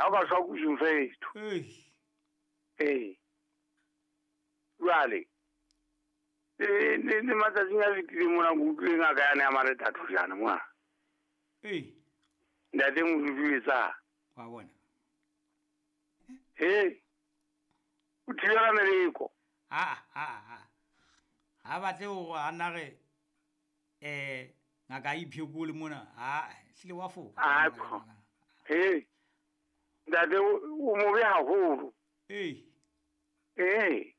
Ha o ka shwa kusung fetho. Ee. Jwale le matsatsing a fetileng mona ke utlwile ngaka yane ya marethatho jana mona. Ee. Ntate Modudu etsa. Wa bona. Ee. O thibela meleko. Ha batle hore a nna re ngaka a iphekole mona. Ha hlile wa foka. Ee. Ntate o mobe haholo. Ee. Ee.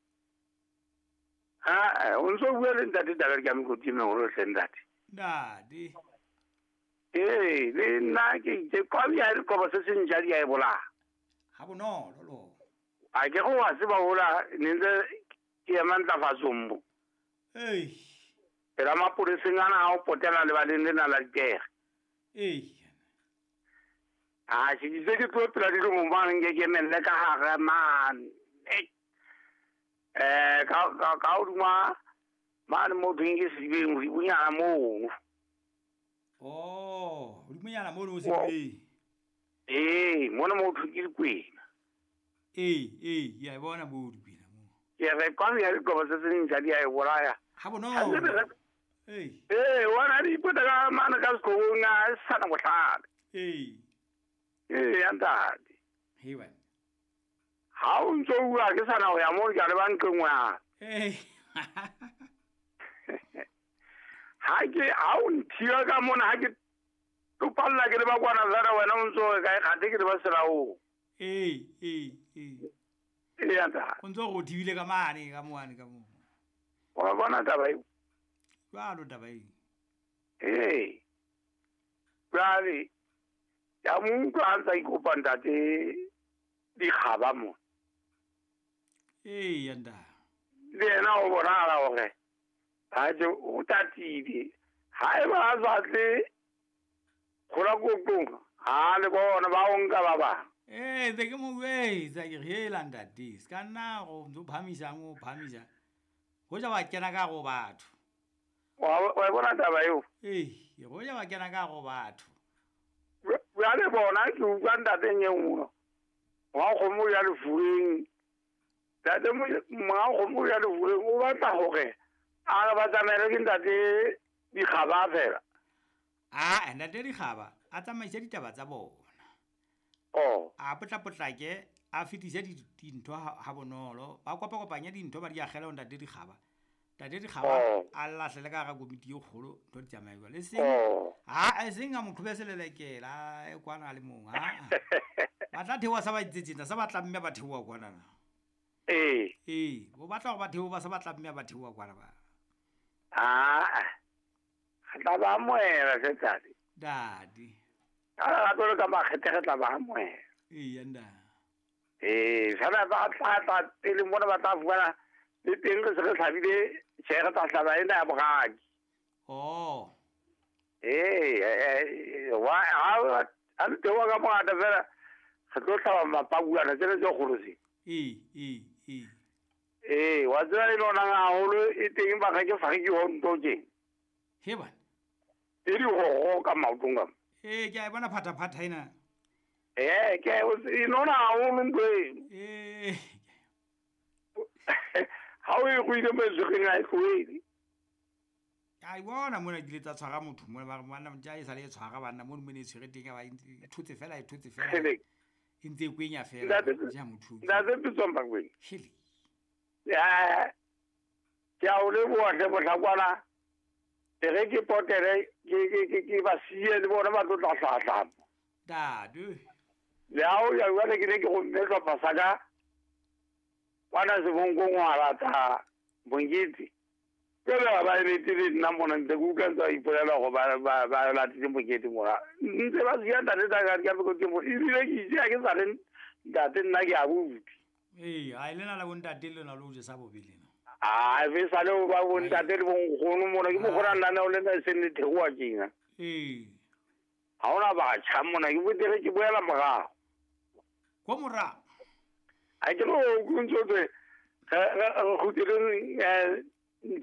Ha o ntso bua le ntate Dakar ke a mekoti e meholo hle ntate. Ntate. Ee, le nna ke itse kwabi ha dikobo se seng ja di a e bolaya. Ha bonolo lo. A ke go wa tseba hola ne ntse ke ema ntlafatsong mo. Ee. Pela mapoleseng ana ha o potela lebaleng lena la dipere. Ee. A ke itse ke tlo pela dilomong mane nke ke emelle ka hare mane. Ka hodima mane mo thweng ke sedibeng hodimonyana moo. Oh, hodimonyana mono o sedibeng. Ee, mona mo thweng ke dikwena. Ee, ke a e bona moo dikwena moo. Ke re kwano ya dikobo se seng ja di a e bolaya. Ha bonolo. Ee. Ee, wona di ipota ka mane ka seqhobong a e sana bohlale. Ee. Ee, ya ntate. Hei wena. Ha o ntso bua ke sana ho ya moo ke a leba nqeng wa. Ee. Ha ke ha o nthiba ka mona ha ke topalla ke leba kwana fela wena o ntso re kae kgathe ke leba selaong. Ee. Ee ya ntate. O ntso re o thibile ka mane ka moane ka moo. Wa bona taba eo? Jwalo taba eo. Ee. Jwale ya mo utlwa a ntsa ikopa ntate dikgaba mo. Ee ya ntate. Le yena o bonahala hore ha je o tatile. Ha eba a sa tle kgola koqong ha le bona ba o nka ba bang. Ee, ntse ke mo jwetsa ke re hela ntate se ka nna go ntso phamisang o phamisa. Hoja ba kena ka go batho. Wa bona taba eo? Ee, hoja ba kena ka go batho. Jwale bona ke utlwa ntateng e nngwe. Wa kgomo ya lefureng. Ntate monga kgomo ya lefureng o batla hore a ba tsamaele ke ntate dikgaba fela. Ah, ntate dikgaba a tsamaise ditaba tsa bona. Oh. A potlapotlake a fetise dintho ha bonolo. Ba kopakopanye dintho ba di akgela ho ntate dikgaba. Ntate dikgaba a lahlele ka hara komiti e kgolo ntho di tsamaye jwalo. Eseng ha eseng a mo qhobe selelekela e kwana le mong ha. Ba tla theoha sa ba itsetseng sa ba tla mme ba theoha kwana na. Ee. Ee, bo batla hore ba theoha ba sa ba tla mme ba theoha kwana ba. Ah. Re tla ba amohela hle ntate. Dadi. Ka lerato le ka makgethe re tla ba amohela. Ee ya ntate. Ee, fela ba tla pele mona ba tla fumana le teng re se re hlabile tjhe re tla hlaba ena ya boraki. Oh. Ee, wa ha le theoha ka mongata fela re tlo hlaba mapakuana tsena tse kgolo tse. Ee. Ee, wa tseba e nonang haholo e teng ba ke fariki ho nto tje. He bana. E dihoho ka maotong ka. Ee, ke a e bona phathaphatha ena. Ee, ke e nona haholo ntho eno. Ee. Ha o e ruile metswekeng ha e tlohele. A e bona mona ke ile tsa tshwara motho mona ba re banna ntja e sale e tshwara banna mono mone e tshwere teng ba e thotse fela e thotse fela. E ntse e kwenya fela ja motho. Ntate Pitsong Bakwena. Hele. Ya. Ke a o leboha hle mohlakwana. E re ke potele ke ba siye le bona ba tlo tla hlahlama. Dadu. Le ha o ya jwale ke ne ke romme sehlopha sa ka kwana Sebonkong wa lata Mokete. Jwale ba emetse le nna mona ntse ke utlwa ntse ba ipolela hore ba latile mokete mona. Ntse ba siya ntate Dakar ka mekoti mo ebile ke itse ha ke sa le ntate nna ke abuti. Ee, ha e lena la bontate lena lo jesa bobe lena. Ah, e sa le ba bontate le bonkgono mona ke mokgona lenaneo lena e seng le theoha tjena. Ee. Ha hona batjha mona ke botere ke boela morao. Ko morao. Ha ke no o ntso tse re kgutleleng